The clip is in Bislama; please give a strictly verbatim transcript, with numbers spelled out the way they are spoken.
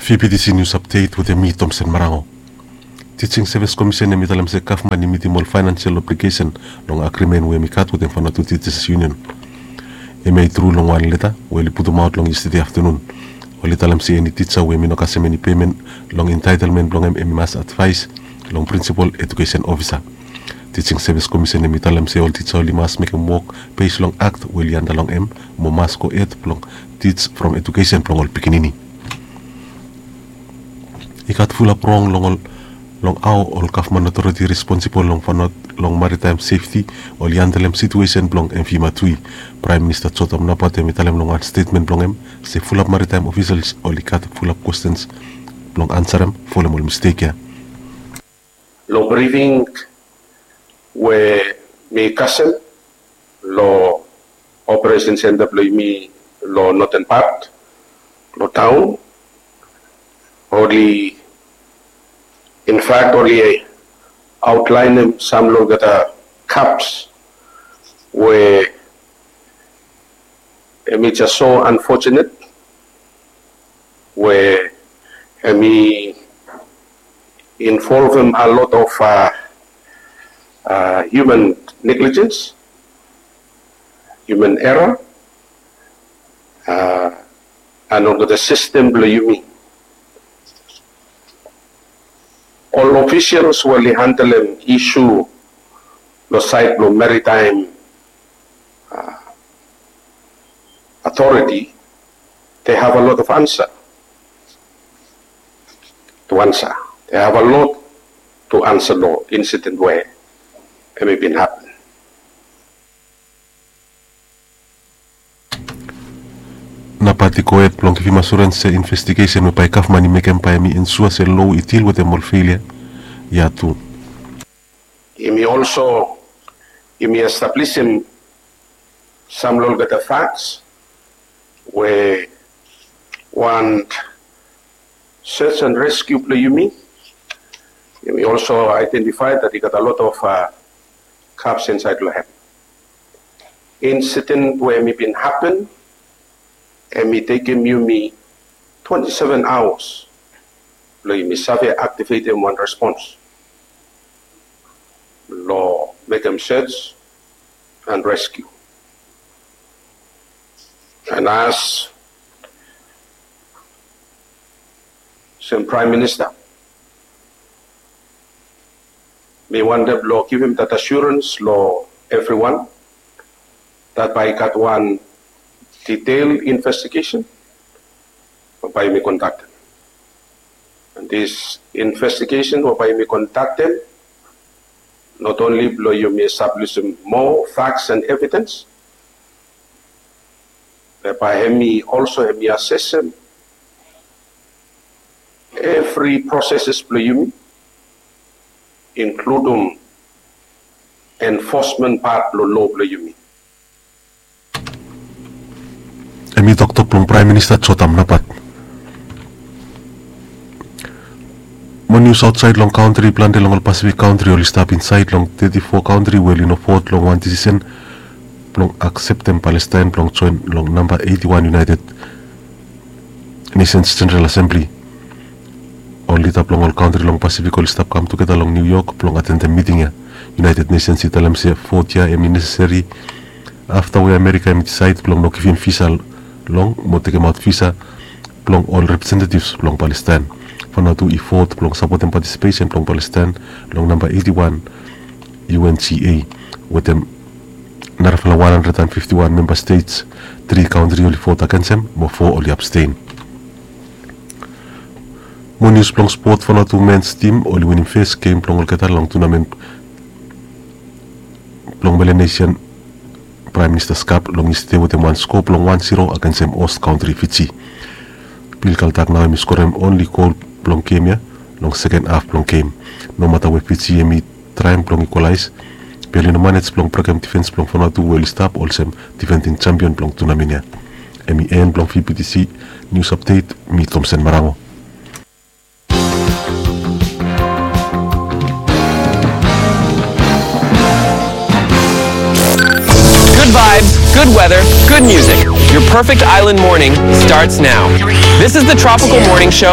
Fifty C News Update wetem mi, Tomsen Marango. Teaching Service Commission hemi talem se gavman i mitim ol financial obligation long agreement we hemi gat wetem Vanuatu Teachers Union. Hemia i tru long wan leta we oli putumaot long yestede aftenun. Oli talem se eni tija we hemi no kasem eni payment long entitlement blong hem, hemi mas advaes long Principal Education Officer. Teaching Service Commission hemi talem se ol tija oli mas mekem wok base long act we oli anda long hem, mo mas go hed blong teach from education blong ol pikinini. I gat fulap rong long ol, long hao ol gavman otoriti responsibol long Vanuatu long maritime safety oli handlem situesen blong MV Matui. Praem Minista Jotam Napat hemi talem long wan stetmen blong hem se fulap maritime ofisals oli gat fulap kwestens blong ansarem folem ol mistek ya. Long brifing we mi kasem long operation center blong yumi long noten pat blong taon, oli, in fact, oli outlaenem sam long olgeta gaps we hemi jes so unfortunate we hemi involvem a lot of, uh, uh, human negligence, human error, uh, and olgeta system blong yumi. Ol officials we oli handlem issue long side blong maritime, uh, authority, they have a lot of answer to answer. They have a lot to answer long incident we hemi bin happen. Napat i gohed blong givim asurens se investigesen we bae gavman i mekem bae hemi ensua se loa i dil wetem ol felia ya tu. Yumi also, yumi establisim sam long olgeta facts we wan search and rescue blong yumi, yumi also identify that i gat a lot of, uh, gaps inside long hem. Incident we hemi bin happen, hemi tekem yumi twenty-seven hours blong yumi save activatem wan response long mekem search and rescue. And as olsem Praem Minista, mi wantem blong givim that assurance long evriwan that bae i gat wan detail investigation we bae yumi kondaktem. And this investigation we bae yumi kondaktem, not only blong yumi establisim moa facts and evidence, be bae hemi also hemi asesem evri processes blong yumi, inkludem enforcement part blong loa blong yumi. Hemi toktok blong Praem Minista Jotam Napat. Mo nius aotsaed long kantri, plante long ol Pasifik kantri oli stap insaed long teti fo kantri we oli no vot long wan desisen blong akseptem Palestaen blong joen long namba eiti wan United Nations General Assembly. Ol lida blong ol kantri long Pasifik oli stap kam tugeta long Niu Yok blong atendem miting ya. United Nations i talem se vot ya hemi neseseri afta we Amerika hemi disaed blong no givim visa long mo tekemaot visa blong ol representatives blong Palestaen. Vanuatu i vot blong sapotem patisipesen blong Palestaen long namba eiti wan U N G A wetem narafala wan handred and fifti wan memba stets. Tri kantri oli vot agensem mo fo oli abstain. Mo nius blong spot, Vanuatu mens tim oli winim fes gem blong olgeta long tunamen blong Melanesian Praem Minista Cup long yestede wetem wan sko blong wan ziro agensem host kantri Fiji. Bill Kaltak nao hemi skorem onli gol blong gem ya long seken haf blong gem. Nomata we Fiji hemi traem blong ikwalaes, be oli no manej blong brekem difens blong Vanuatu we oli stap olsem difending jampion blong tunamen ya. Hemi en blong V B T C News Update, mi Tomsen Marango. Good vibes, good weather, good music. Your perfect island morning starts now. This is the Tropical Morning Show